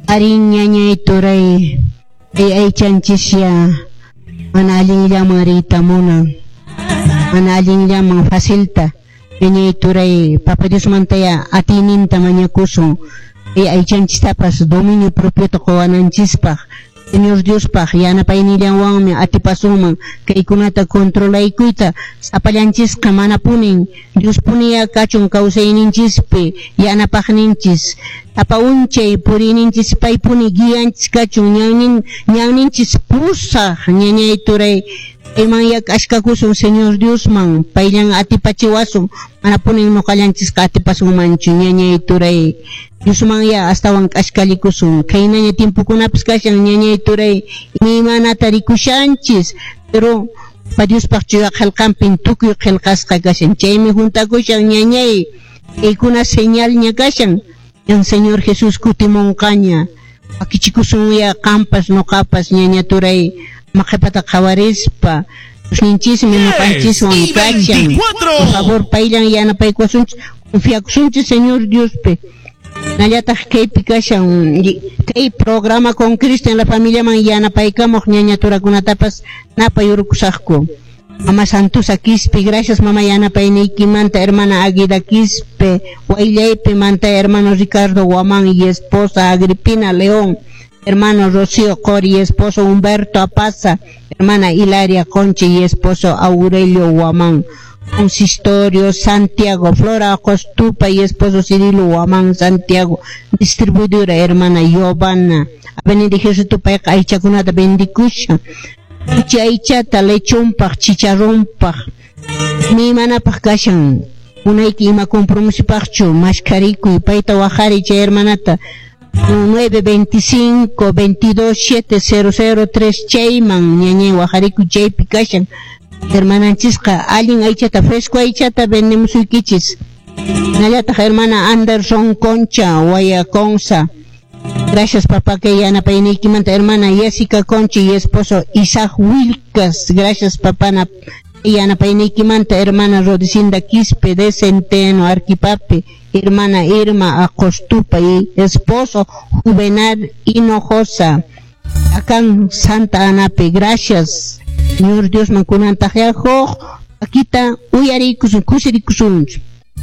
Arí ñañay turay, kay aychanchisya mana allinllaman riyta munan, mana allinllaman facilta. Ñañay turay, Papa Diosmantaya atiyninta mañakusun, kay aychanchistapas dominio propiota quwananchispaq. Señor Diospaq yanapaynillanwanmi atipasunman kaykunata controlaykuyta, sapallanchisqa manapunin. Diospuniya kachun kawsayninchispi yanapaqninchis, sapa unchay puriyninchis paypuni guianchis kachun, ñannin ñanninchis pusaq. Ñañay turay, paymanya k'askakusun Señor Diosman, payllan atipachiwasun, manapunin ñuqallanchisqa atipasunmanchu. Ñañay turay, Diosmanya astawan k'askallikusun. Khaynaña tiempokunapis kashan, ñañay turay, imaymanata rikushanchis, pero pa Diospaq chuya qillqanpin tukuy qillqasqa kashan, chaymi juntakushan, ñañay. Kaykuna señalña kashan, ñan Señor Jesús kutimunqaña. Wakichikusunya qampas ñuqapas, ñaña turay, ama qhipata qhawarispa. Diosninchismi ñuqanchiswan kashan. Por favor, payllan yanapaykuwasunchis, confiakusunchis Señor Diospi. Nallataq kaypi kashan kay programa Con Cristo en la Familiaman yanapaykamuq ñaña turakunatapas napayurkusaqku. Mama Santusa Quispe, gracias, mama, yanapayniykimanta. Hermana Aguida Quispe, Wayllaypi manta hermano Ricardo Guamán y esposa Agripina León, hermano Rocío Cori y esposo Humberto Apaza, hermana Hilaria Conche y esposo Aurelio Guamán. Consistorio Santiago, Flora Costupa y esposo Cirilo Guamán Santiago, distribuidora hermana Giovanna. Avenida Ejército payqa aychakunata vendikushan. Kuchi aychata lechonpaq, chicharronpaq, imaymanapaq kashan. Unayki ima compromisopaqchu mashkarikuy, payta waqariy chay hermanata 925 22 7003 chayman, ñañay, waqarikuy, chaypi kashan. Hermananchisqa allin aychata, fresco aychata vendemusuykichis. Nallataq hermana Anderson Concha, Guayaconza. Gracias, papá, que yanapayniykimanta. Hermana Jessica Concha y esposo Isaac Wilcas. Gracias, papá, yanapayniykimanta. Hermana Rodicinda Quispe de Centeno, Arquipape. Hermana Irma Acostupa y esposo Juvenal Hinojosa. Acá en Santa Anape. Gracias. Señor Dios mankunantaq huk akita uyarikusun, kusirikusunchik.